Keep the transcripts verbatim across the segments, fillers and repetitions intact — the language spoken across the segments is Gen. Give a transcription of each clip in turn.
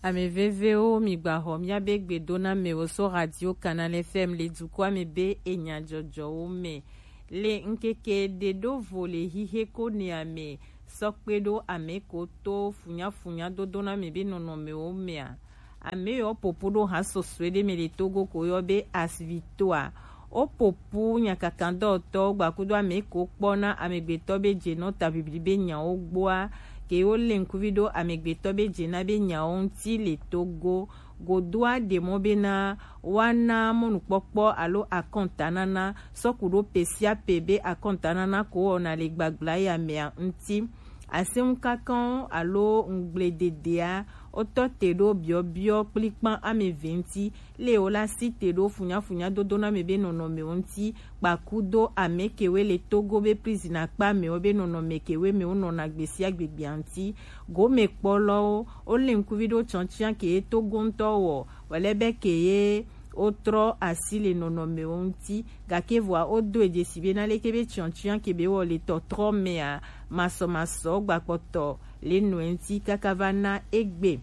Ame vevewo, migbaxɔ miabe gbedonamewo so Radio Canal F M le dukɔa me be enya jɔjɔwo me. Le ŋkeke ɖe ɖo vo le xixe ko nɛa me sɔ kpe ɖo ame ko to funyafunya dodona me be nɔnɔmewo mea, ame yɔ popo ɖo ha sɔsɔe ɖe me le Togo ko yɔ be Asvitoa. Wo popo nyakakandɔtɔwo gbakudo ame ko kpɔna amegbetɔ be jenɔ ta bibli be nyawo gbɔa, ke wo le ŋkuvi ɖo amegbetɔ be jena be nyawo ŋuti le Togo. Godoa ɖe mɔ bena woana mɔnukpɔkpɔ alo akɔntanana sɔku ɖo pe sia pe be akɔntanana ko wɔna le gbagblaya mea ŋuti. Aseŋukakanwo alo ŋugblededea wotɔ te ɖo biɔbiɔ kplikpan ame eve ŋuti, le wo la si te ɖo funyafunya dodona me be nɔnɔmewo ŋuti, kpakudo ame kewe le Togo be prison akpa mewo be nɔnɔme kewe me wonɔna gbe sia gbe gbea ŋuti. Gomekpɔlɔwo, wo le ŋkuvi ɖo tsɔntsia ke ye Togo ŋutɔ wɔ, wòle be ke ye wotrɔ asi le nɔnɔmewo ŋuti, gake vɔa wodo edzesi be na leke be tsɔntsia ke be wɔ le tɔtrɔ mea, masɔmasɔ gbakpɔtɔ le nɔe ŋuti kaka va na egbe.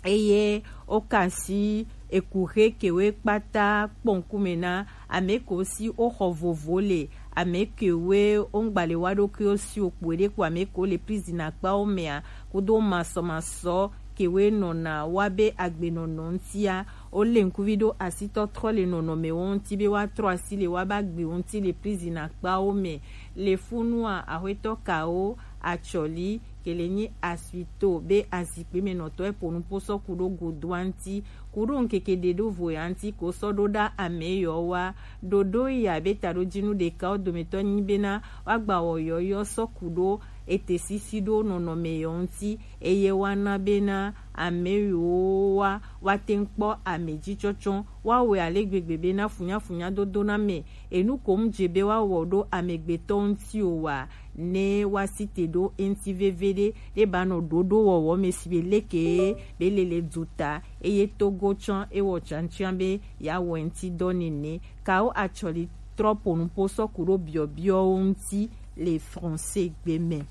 Eye woka asi ekuxe kewe kpata kpɔ ŋkume na ame ko si woxɔ vovo le, ame kewe woŋgbale wa ɖokuiwo si wokpoe ɖe kpo ame ko le prison akpawo mea, kudo masɔmasɔ kewe nɔna wa be agbenɔnɔ ŋutia, wo le ŋkuvi ɖo asitɔtrɔ le nɔnɔmewo ŋuti be woatrɔ asi le wa be agbewo ŋuti le prison akpawo me. Le funua, axwetɔ kawo atsɔli ke le nyi Asvito be azikpe me nɔtɔ epo nupo sɔ ku ɖo godoa ŋuti, ku ɖo ŋkeke ɖe ɖo vo ya ŋuti ko sɔ ɖo ɖa ame yɔ wa. Ɖoɖo ya be taɖojinu ɖeka wo dometɔ nyi bena woagba wɔ yɔyɔ sɔ ku ɖo ete sisi ɖo nɔnɔme yɔ ŋuti, eye woana bena ame yiwo wa woate ŋu kpɔ ame dzi tsɔtsɔ, woawɔe ale gbegbe bena funyafunya dodona me enu ko mu dze be woawɔ ɖo amegbetɔ ŋuti o wa, ne woasi te ɖo eŋuti veviɖe, ɖe ba nɔ ɖoɖo wɔwɔ me si be leke be lele du ta, eye Togo tsã ewɔ tsantsia be yeawɔ eŋuti dɔ nene. Kawo atsɔli trɔ po nupo sɔ ku ɖo biɔbiɔwo ŋuti le français gbe me.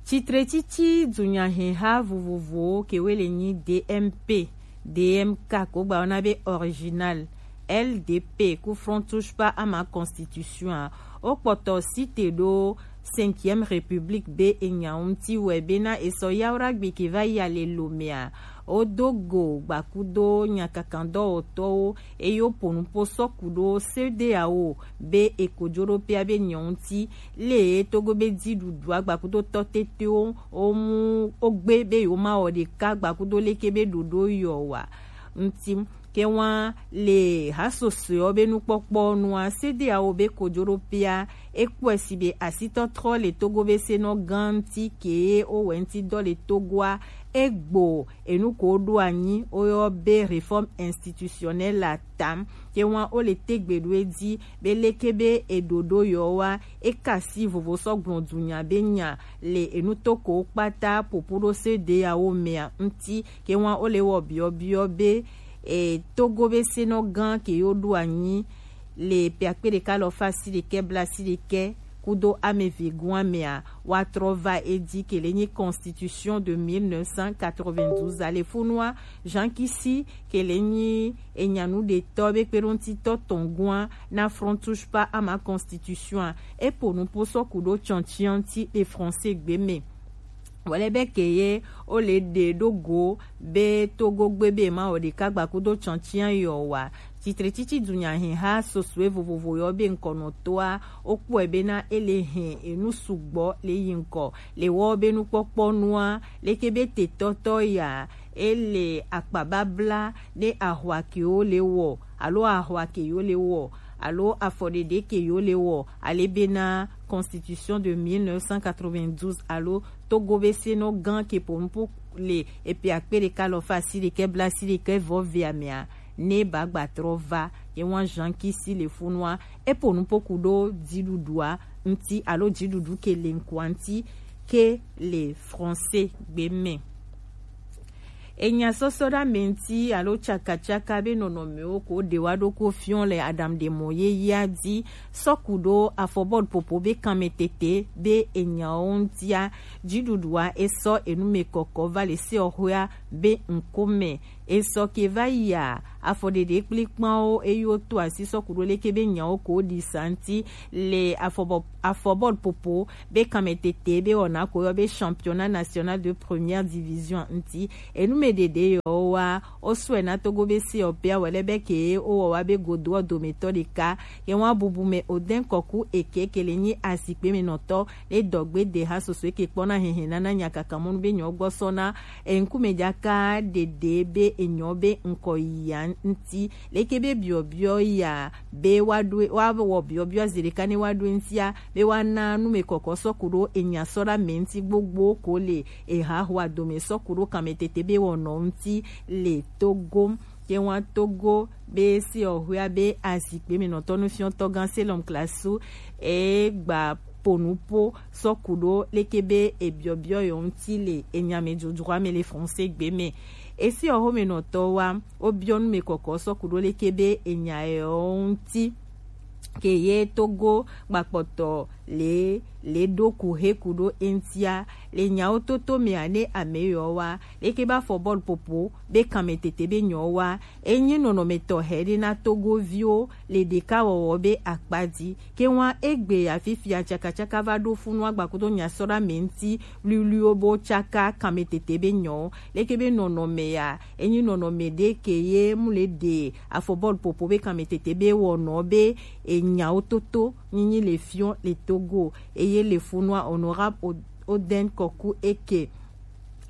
Tsitretsitsi dunyaheha vovovowo kewe le nyi D M P, D M K ko gba wona be original, L D P ku Front Touche Pas à ma Constitution a, wo kpɔtɔ si te ɖo Cinquième République be enya ŋuti wɛ bena esɔ yawra gbe ke va yi ale lo mea, wo do go gbakudo nyakakandɔwɔtɔwo, eye wo po nupo sɔ ku ɖo C D A O be e ko jo ɖo pia be nyɔ ŋuti, le Togo be dziɖuɖu agbakudo tɔ tetewo wo mu wo gbe be yewo ma wɔ ɖeka gbakudo leke be ɖoɖo yɔ wa ŋuti. Ke wa le hasosoewo be nukpɔkpɔ nua, C D A O be ko jo ɖo pia e kpɔe si be asitɔtrɔ le Togo be senɔ gã ŋuti ke wo wɛ ŋuti dɔ le Togoa e gbo enu ko ɖo anyi woyɔ be réforme institutionnelle la tam. Ke wa wo le tegbe ɖo edzi be leke be eɖoɖo yɔ wa e ka si vovo sɔ gblɔ dunya be nya le enu to ko kpata popo ɖo C D A O mea ŋuti. Ke wa wo le wɔ biɔbiɔ be e Togo be senɔ gã ke yo ɖo anyi le pe akpe ɖeka lɔ fa si ɖekɛ bla si ɖekɛ kudo ame ve gua mea, wa trɔ va edzi ke le nyi Constitution de mille neuf cent quatre-vingt-douze a. Le funua, Jean Kisi ke le nyi enyanu ɖetɔ be kpeɖoŋutitɔ tɔn gua na Front Touche Pas à ma Constitution a, e po nupo sɔ ku ɖo tsɔntsia ŋuti le français gbe me. Wòle be ke ye wo le ɖe ɖo go be Togo gbe be ma wɔ ɖeka gbakudo tsɔntsia yɔ wa. Tsitretsitsi dunyaheha sosoe vovovo yɔ be ŋkɔnɔtɔa wo kpɔe bena e le hɛn enu sugbɔ le yi ŋkɔ le wɔ be nukpɔkpɔ nua, leke be tetɔtɔ ya e le akpababla ne ahwa ke wo le wɔ alo ahwa ke yo le wɔ alo afɔɖeɖe ke yo le wɔ, ale bena Constitution de mille neuf cent quatre-vingt-douze alo Togo be senɔ gã ke po nupo le epe akpe ɖeka lɔ fa si ɖekɛ bla si ɖekɛ vɔ vea mea, ne ba gba trɔ va ye wa Jean Kisi le funua, e po nupo ku ɖo dziɖuɖua ŋuti alo dziɖuɖu ke le ŋkua ŋuti ke le français gbe me. Enya sɔsɔ ɖe ame ŋuti alo tsakatsaka be nɔnɔmewo ko ɖe wa ɖo ko fiɔ le aɖaŋuɖemɔ yeyea dzi sɔku ɖo afɔbɔlu popo be kanmetete be enyawo ŋutia. Dziɖuɖua esɔ enumekɔkɔ va le seɔxɔea be ŋkome. Esɔ ke va yia afɔɖeɖe kplikpanwo eye woto asi sɔku ɖo leke be nyawo ko ɖi sa ŋuti le afɔbɔ afɔbɔlu popo be kanmetete be wɔna ko yɔ be championnat national de première division ŋuti. Enumeɖeɖe yɔwoa, wosɔe na Togo be seɔpea wɔ lɛ be ke wowɔ wa be godoɔ dometɔ ɖeka. Ye wa bubu me Odin Kɔku Eke ke le nyi azikpe me nɔtɔ le dɔgbe de ha soso eke kpɔna hehe nana nyakakamɔnu be nyɔ gbɔ sɔna eŋkume jaka ɖeɖe be enyɔ be ŋkɔ yia ŋuti. Leke be biɔbiɔ ya be wa ɖo wa wɔ biɔbiɔ zi ɖeka ne wa ɖo ŋutia be wa na numekɔkɔ sɔku ɖo enya sɔ ɖe ame ŋuti gbogbo ko le ehahoa dome sɔku ɖo kanmetete be wɔnɔ ŋuti le Togo. Ye wa Togo be seɔxɔea be azikpe me nɔtɔ nufiɔtɔ gã Selɔm Klasu e gba ponupo sɔku ɖo leke be ebiɔbiɔ yɔ ŋuti le enyamedzodzroa me le français gbe me. Esi ɔxo me nɔtɔ wa wobiɔ numekɔkɔ sɔku ɖo leke be enya yɔ ŋuti ke ye Togo gbakpɔtɔ le le ɖo ku he ku ɖo eŋutia le nyawo toto mea ne ame yɔ wa leke be afɔbɔlu popo be kanmetete be nyɔ wa enyi nɔnɔme tɔxɛ ɖe na Togoviwo le ɖekawɔwɔ be akpa dzi. Ke wa egbe ya fifia tsakatsaka va ɖo funu agbakudo nyasɔɖa me ŋuti luiluiwo bo tsaka kanmetete be nyɔ. Leke be nɔnɔme ya enyi nɔnɔme ɖe ke ye mu le ɖe afɔbɔlu popo be kanmetete be wɔnɔ be enyawo toto nyinyi le fiɔ le Togo eye le funua honorable Od- Oden Kɔku Eke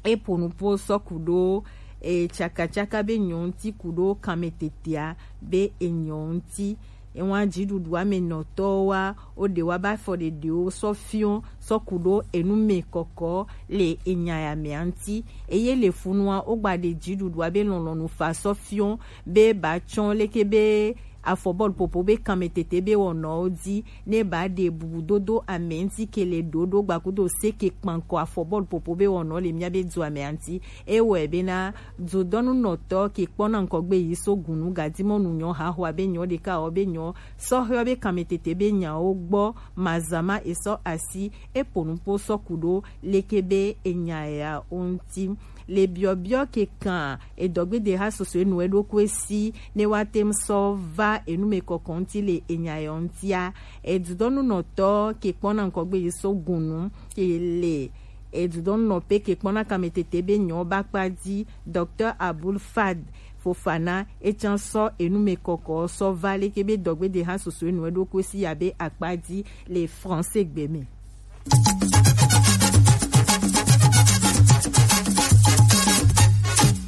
epo nupo sɔku ɖo e tsakatsaka be nyɔ ŋuti ku ɖo kanmetetea be enyɔ ŋuti. Ewa dziɖuɖua me nɔtɔwo wa wo ɖe wa ba fɔ ɖeɖewo sɔ fiɔ sɔ ku ɖo enu me kɔkɔ le enya ya mea ŋuti. Eye le funua wo gba ɖe dziɖuɖua be lɔlɔnu fa sɔ fiɔ be ba tsɔ leke be afɔbɔlu popo be kanmetete be wɔnɔwo dzi ne ba ɖe bubudodo ame ŋuti ke le ɖoɖo gbakudo se ke kpankɔ afɔbɔlu popo be wɔnɔ le mía be dua mea ŋuti. Ewɔe bena dzodɔnunɔtɔ ke kpɔna ŋkɔgbe yi so gunu gadimɔnu nyɔ haxoa be nyɔ ɖeka wɔ be nyɔ sɔhɛɔ be kanmetete be nyawo gbɔ mazama esɔ asi epo nupo sɔ ku ɖo leke be enya ya wo ŋuti. Le biɔbiɔ ke kan edɔgbede ha soso enu eɖokui si ne wa tem sɔ va enu me kɔkɔ ŋuti le enya yɔ ŋutia. Edudɔnunɔtɔ ke kpɔna ŋkɔgbe yi so gunu ke le edudɔnunɔpe ke kpɔna kanmetete be nyɔ ba kpa dzi, Docteur Abul Fad Fofana etsã sɔ enu me kɔkɔ sɔ va leke be dɔgbede ha soso enu eɖokui si ya be akpa dzi le français gbe me.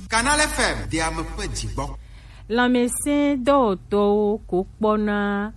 Canal F M de ame ƒe dzigbɔ. Lãmesẽdɔwɔtɔwo ko kpɔna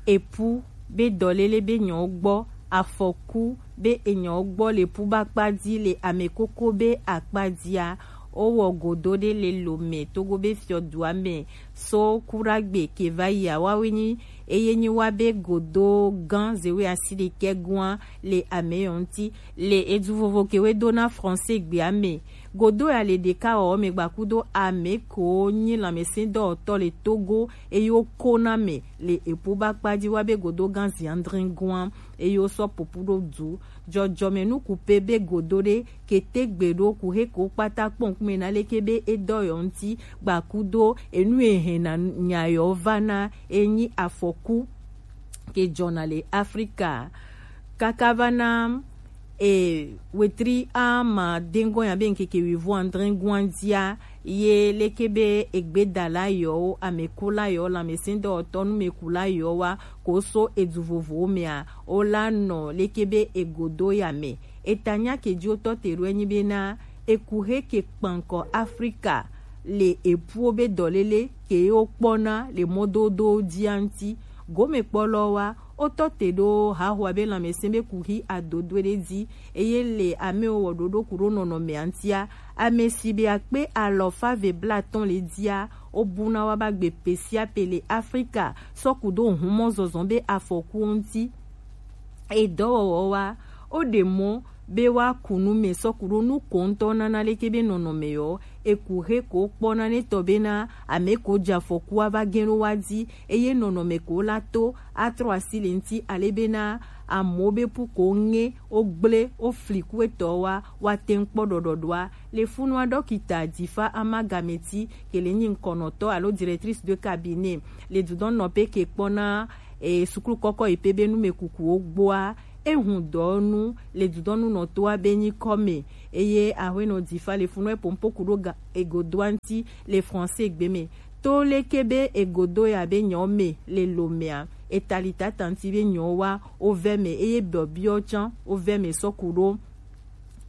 epu be dɔlele be nyɔ gbɔ, afɔku be enyɔ gbɔ le pu ba kpa dzi le ame koko be akpa dzia. Wowɔ godo ɖe le Lome Togo be fiɔdua me so Kuragbe ke va yia wawe nyi eye nyi wa be godo gã zewe asi ɖekɛ gua le ame yɔ ŋuti le edu vovo ke we do na français gbea me. Godo ya le ɖeka wɔ me gbakudo ame ko nyi lãmesẽdɔwɔtɔ le Togo eye wo ko na me le epo ba kpa dzi wa be godo gã zi andre gua eye wo sɔ popu ɖo du. Dzɔdzɔme nuku pe be godo ɖe kete gbe ɖo ku he ko kpata kpɔ ŋkume na leke be edɔ yɔ ŋuti gbakudo enu ehe na nya yɔ va na enyi afɔku ke dzɔna le Afrika. Kaka va na e wetri ama dengɔ ya be ŋkeke wivo andre guandia ye leke be egbedala yɔwo, amekula yɔwo, lãmesẽdɔwɔtɔ, numekula yɔwo wa ko so edu vovowo mea, wo la nɔ leke be egodo ya me. Eta nya ke dzi wotɔ te ɖo enyi bena eku he ke kpankɔ Afrika le epuwo be dɔlele ke ye wokpɔna le mɔdodowo dzia ŋuti. Gomekpɔlɔwo wa wotɔ te ɖo haxoa be lãmesẽ be kuxi adodoe ɖe dzi eye le amewo wɔ ɖoɖo ku ɖo nɔnɔmea ŋutia, ame si be akpe alɔfa ve blatɔn le dzia, wobuna wa ba gbe pe sia pe le Afrika sɔ ku ɖo humɔ zɔzɔ be afɔkuwo ŋuti. Edɔwɔwɔ wa woɖe mɔ be wa ku nu mɛ sɔku ɖo nu ko ŋutɔ nana leke be nɔnɔmɛ yɔ, eku he ko kpɔ na ne tɔ be na ame ko dza fɔku wa va gɛn ɖo wa di, eye nɔnɔmɛ ko la to atrɔ asi le ŋuti ale be na amewo be pu ko ŋe wo gble wo fli ku etɔ wa, wa te ŋu kpɔ ɖɔɖɔɖoa. Le funua dɔkita Difa Amagameti ke le nyi ŋkɔnɔtɔ alo directrice de cabinet le dudɔnnɔƒe ke kpɔna e, suklu kɔkɔ yi pe be numekukuwo gbɔa, ehun dɔnu le dudɔnunɔtoa be nyikɔ me, eye ahuenɔ Difa le funua epo ŋpoku ɖo ga egodoa ŋuti le français gbe me. To leke be egodo ya be nyɔ me le lomea, etali tata ŋuti be nyɔ wa wo vɛ me, eye biɔbiɔ tsã wo vɛ me sɔku ɖo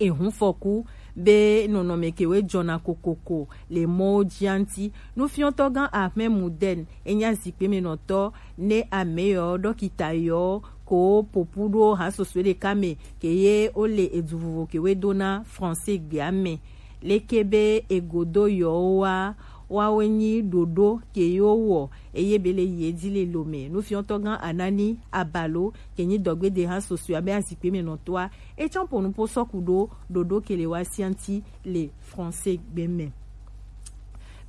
ehun fɔku be nɔnɔme kewe jɔna kokoko le mɔwo jia ŋuti. Nufiɔtɔ gã Ahmed Muden enya zikpe me nɔtɔ ne ame yɔ dɔkita yɔ ko popu ɖo ha soso ɖeka me ke ye wo le edu vovo kewe do na français gbea me. Leke be egodo yɔ wa wa wo nyi ɖoɖo ke yo wɔ eye be le yi edzi le lo me. Nufiɔtɔ gã Anani Abalo ke nyi dɔgbede ha soso abe azikpe me nɔtɔa, etsɔ ƒo nuƒo sɔku ɖo ɖoɖo ke le wa sia ŋuti le français gbe me.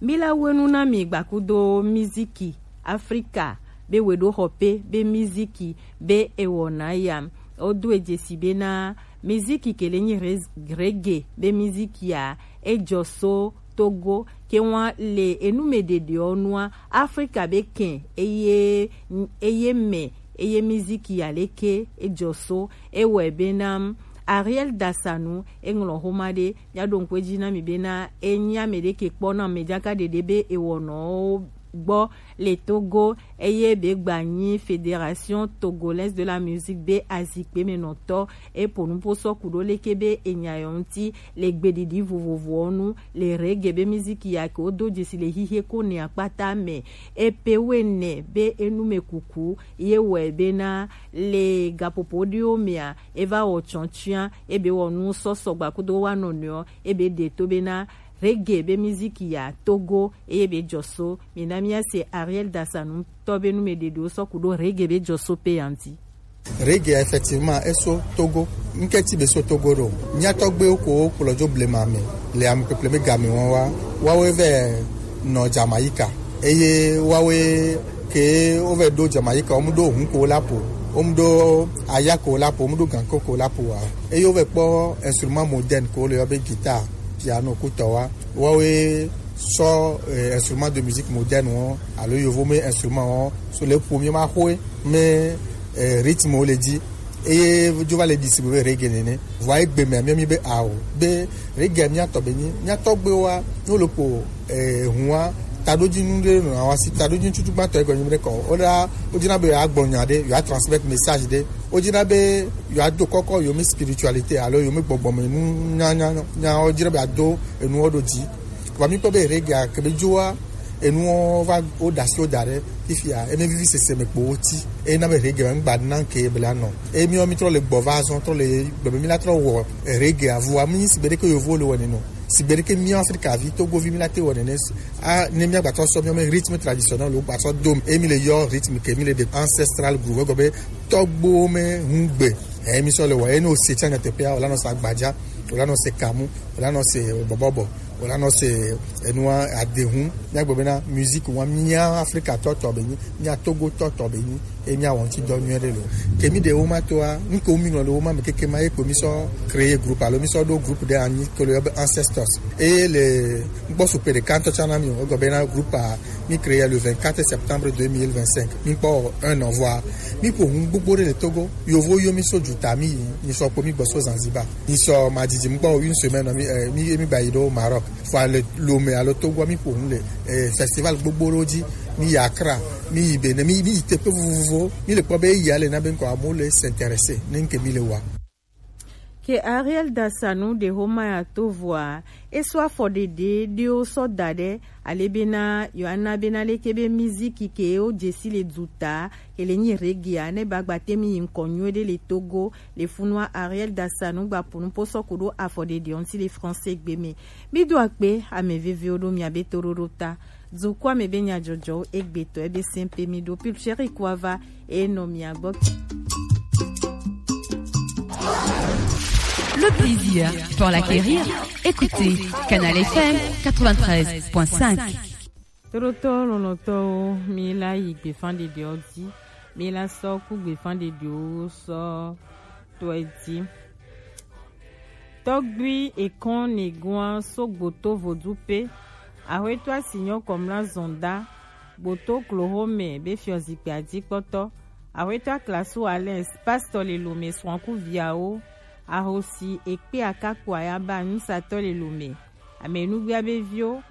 Mi la wenu na mi gbakudo miziki Afrika be weɖo xɔ pe be miziki be ewɔna ya. Wodo edzesi be na miziki ke le nyi res- reggae be miziki ya ejɔ so Togo ke wa le enume ɖeɖeɔ nua Afrika be kɛn eye eye mɛ eye miziki ya leke ejɔ so ewɔe be na Ariel Dasanu eŋlɔ xoma ɖe mia ɖo ŋkwe dzi na mi be na enyi ame ɖe ke kpɔ na me dzaka ɖeɖe be ewɔnɔwo gbɔ le Togo eye be gba nyi Fédération Togolaise de la Musique be azikpe me nɔtɔ epo nupo sɔku ɖo leke be enya yɔ ŋuti le gbeɖiɖi vovovowo nu le reggae be miziki ya ke wodo dzesi le xixie ko ne akpata me. Epe wene be enume kuku ye wɔe be na le gaƒoƒo ɖewo mea eva wɔ tsɔtsɔa ebe wɔ nu sɔsɔ gbakudo wa nɔnɔewo ebe ɖe to be na reggae be miziki ya Togo eye be jɔ so. Mina mia se Ariel Dasanu tɔ be nu me ɖeɖewo sɔku ɖo reggae be jɔ so pe ya ŋuti. Reggae, effectivement, eso Togo. Nke ti be so Togo ɖo. Mia tɔgbewo ko kplɔ dzo blema me le ame kpekple me game wɔn wa. Wawe vɛ nɔ Jamaika. Eye wawe ke wovɛ ɖo Jamaika, wɔmu ɖo hun ko la po, wɔmu ɖo aya ko la po, wɔmu ɖo ganko ko la po wa. Eye wovɛ kpɔ instrument moderne ko le yɔ be guitare, piano kutɔ wa. Wawe sɔ eh, instrument de musique moderne wɔn alo yovo me instrument wɔn so le ƒo mi ma xɔe me eh, rythme wo le dzi eye dzo va le ɖi si be reggae nene. Vɔa egbe mea mia mi be ao be reggae mia tɔ be nyi mia tɔgbewoa ne wo le ƒo eh, hua taɖodzinu ɖe nɔ awa si taɖodzinu tutu gbãtɔ egɔ nyi be kɔ wo la wo dzina be yewoagblɔ nya ɖe yewoa transmettre message ɖe wo dzina be yewoado kɔkɔ yewo mi spiritualité alo yewo mi gbɔgbɔme nu nya nya nya wo dzina be yewoado enuwo ɖo dzi. Vɔ mi kpɔ be reggae ke be dzoa enuwo va wo ɖe asi wo da ɖe fifia eme vivi sese me kpo wo ti eye na be reggae me ŋgba na ke be la nɔ eye miwo mi trɔ le gbɔ va zɔn trɔ le gbeme mi la trɔ wɔ reggae avua mi si be ɖeke yovo le wɔ neno si be ɖeke mi Afrika vi Togo vi mi la te wɔ nene a ne mi agbatɔ sɔ mi me rythme traditionnel wo gbatɔ dom eye mi le yɔ rythme ke mi le de ancestral groove egɔ be tɔgbo me ŋugbe eye mi sɔ le wɔ eye ne o se tsa nyateƒea o la nɔ se agbadza o la nɔ se kamu o la nɔ se bɔbɔbɔ o la nɔ se enua adehun. Míagblɔ bena musique wa mía Afrika tɔ tɔ be nyi, mía Togo tɔ tɔ be nyi, eye mía wɔ ŋuti dɔ nyuie ɖe lo. Ke mi ɖe wo ma toa, nu ke wo mi ŋlɔ le wo ma me keke ma ye kpo mi sɔ créer groupe alo mi sɔ ɖo groupe ɖe anyi ke le yɔ be Ancestors. Eye le ŋkpɔ supe ɖeka ŋutɔ tsã na mi o, egɔ bena groupe a mi créer le vingt-quatre septembre deux mille vingt-cinq. Mi kpɔ un an vɔa, mi ƒo ŋu gbogbo ɖe le Togo. Yovo yo mi so juta mi yi, mi sɔ kpo mi gbɔ so Zanzibar. Mi sɔ ma didi mi gbɔ une semaine mi eh, mi mi ba yi ɖo Maroc. Fo le Lomé alo Togo mi ƒo ŋu le eh, festival gbogbo ɖewo dzi. Mi yi Accra, mi yi Benin, mi mi yi teƒe vovovowo. Mi le kpɔ be eya le na be ŋkɔ amewo le s'intéresser ne ŋke mi le wa. Ke Ariel Dasanu ɖe xoma ya to vɔa, eso afɔɖeɖe ɖewo sɔ da ɖe ale bena yewoana bena leke be miziki ke wo dzesi le duta ke le nyi reggae a ne ba gba te mi yi ŋkɔ nyuie ɖe le Togo le funua Ariel Dasanu gba ƒo nuƒo sɔ ku ɖo afɔɖeɖe ŋuti le français gbe me. Mi do akpe ame veviwo ɖo mia be toɖoɖo ta. Dukɔa me be nyadzɔdzɔwo egbetɔ ebe sɛnpe mi ɖo Pulcheri Kuava e nɔ mia gbɔ. Le plaisir pour l'acquérir, écoutez Canal F M quatre-vingt-treize point cinq. Toɖotɔ lɔlɔ̃tɔwo, mi la yi gbefan ɖeɖewo dzi, mi la sɔ ku gbefan ɖeɖewo sɔ tɔe dzi. Tɔgbui ekɔn negoa so gboto vodu pe, ahoeto asinyɔ kɔmla zɔnda, gboto kloho me be fiɔ zikpia dzi kpɔtɔ, ahoeto aklasu alɛs, pastɔ le lome srɔ̃ku viawo, ahosi ekpe akakpo ayaba nusatɔ le lome, amenugbia be viwo,